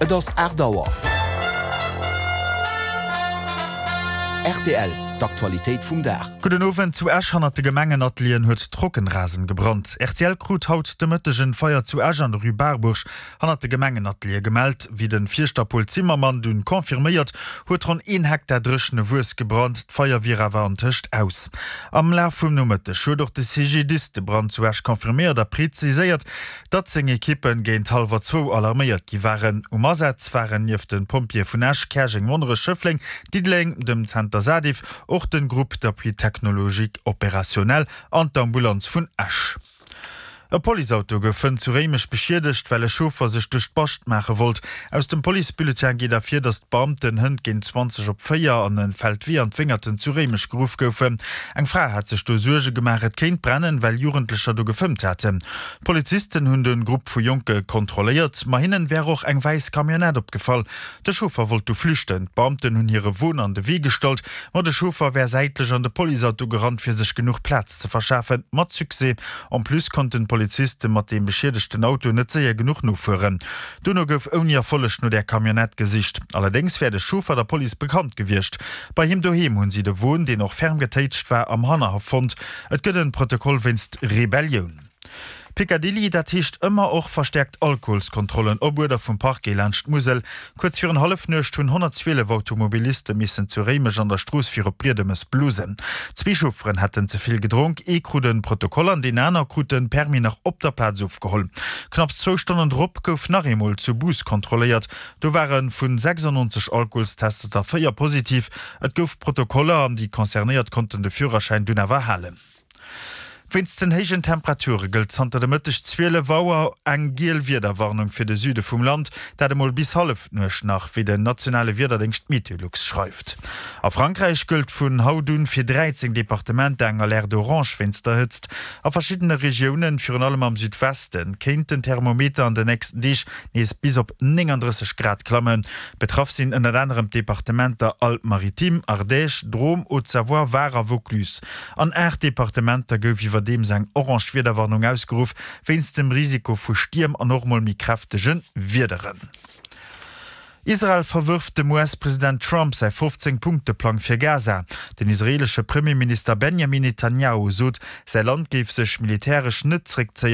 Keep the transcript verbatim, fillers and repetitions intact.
Et ass aacht Auer. Rtl, D'Aktualitéit vum Dag. Gudden Owend, Zu Esch hannert de Gemengenatelieren huet Trockenrasen gebrannt. Rtl krut haut de Mëtteg en Feier zu Esch an der Rue Barbourg hannert de Gemengenateliere gemellt. Wéi den Fierschter Paul Zimmermann dunn confirméiert huet ronn een Hektar dréchene Wuess gebrannt. D'Feier wier awer antëscht aus. Am Laf vum Nomëtteg huet och de C G D I S de Brand zu Esch confirméiert a preziséiert, datt seng Ekippen géint hallwer zwou alarméiert gi waren. Um Asaz waren nieft de Pompjeeë vun Esch, Käerjeng, Monnerech, Schëffleng, Diddeleng, dem Zenter SaDiff och de Groupe d'appui technologique opérationnel an d'Ambulanz vun Esch. E Policeauto gouf fënn zu Réimech beschiedegt, well e Chauffer sech duerch d'Bascht maache wollt. Aus dem Policebulletin geet ervir, datt d'Beamten hënt géint zwanzeg op véier an e Feldwee an d'Wéngerten zu Réimech geruff goufen. Eng Fra hat sech do Suerge gemaach, et kéint brennen, well Jugendlecher do gefëmmt haten. D'Polizisten hunn de Grupp vu Jonke kontrolléiert, ma hinnen wär och eng wäiss Camionnette opgefall. De Chauffer wollt du flüchten. D'Beamten hunn hire Won an de Wee gestallt, ma de Chauffer wär säitlech an de Policeauto gerannt, fir sech genuch Plaz ze verschafen. Mat Succès. En plus konnten d'Poliziste mat deem beschiedegten Auto net séier genuch nofueren. Dono gouf ouni Erfolleg no där Camionnette gesicht. Allerdéngs wär de Chauffer der Police bekannt gewiescht. Bei him doheem hunn si de Won, deen och ferm getéitscht war, am Hannerhaff fonnt. Et gëtt en Protokoll wéinst Rebellioun. Picadilly, dat heescht ëmmer och verstäerkt Alkoholskontrollen op Uerder vum Parquet laanscht d'Musel. Kuerz virun Hallefnuecht hunn honnertzwielef Automobiliste missen zu Réimech an der Strooss fir op Briedemes blusen. Zwee Chaufferen hätten ze vill gedronk, ee krut e Protokoll an deen aner krut de Permis nach op der Plaz ofgeholl. Knapps zwou Stonnen drop gouf nach eemol zu Bous kontrolléiert. Do ware vu sechsundneunzeg Alkoholstester der véier positiv. Et gouf Protokoller an déi Concernéiert konnten de Führerschäin dunn awer halen. Wéinst den héijen Temperature gëllt zanter de Mëtteg zwielef Auer eng giel Wiederwarnung fir de Süde vum Land, dat emol bis Hallefnuecht nach, wéi den nationale Wiederdéngscht Meteolux schreift. A Frankräich gëllt vun haut un fir dräizéng Departementer eng Alerte orange wéinst der Hëtzt. A verschiddene Regiounen, virun allem am Südwesten, kéint den Thermometer an den nächsten Deeg nees bis op nénganddrësseg Grad klammen. Betraff sinn ënnert anerem d'Departementer Alpes-Maritimes, Ardèche, Drôme, Haute-Savoie, Var a Vaucluse. An aacht Departementer gouf iwwerdeems eng orange Wiederwarnung ausgeruff, wéinst dem Risiko vu Stierm an och mol méi kräftege Wiederen. Israel verwërft dem U S-President Trump säi fofzéng Punkte-Plang fir Gaza. Den israeelesche Premierminister Benjamin Netanjahu sot, säi Land géif sech militäresch net zréckzéien.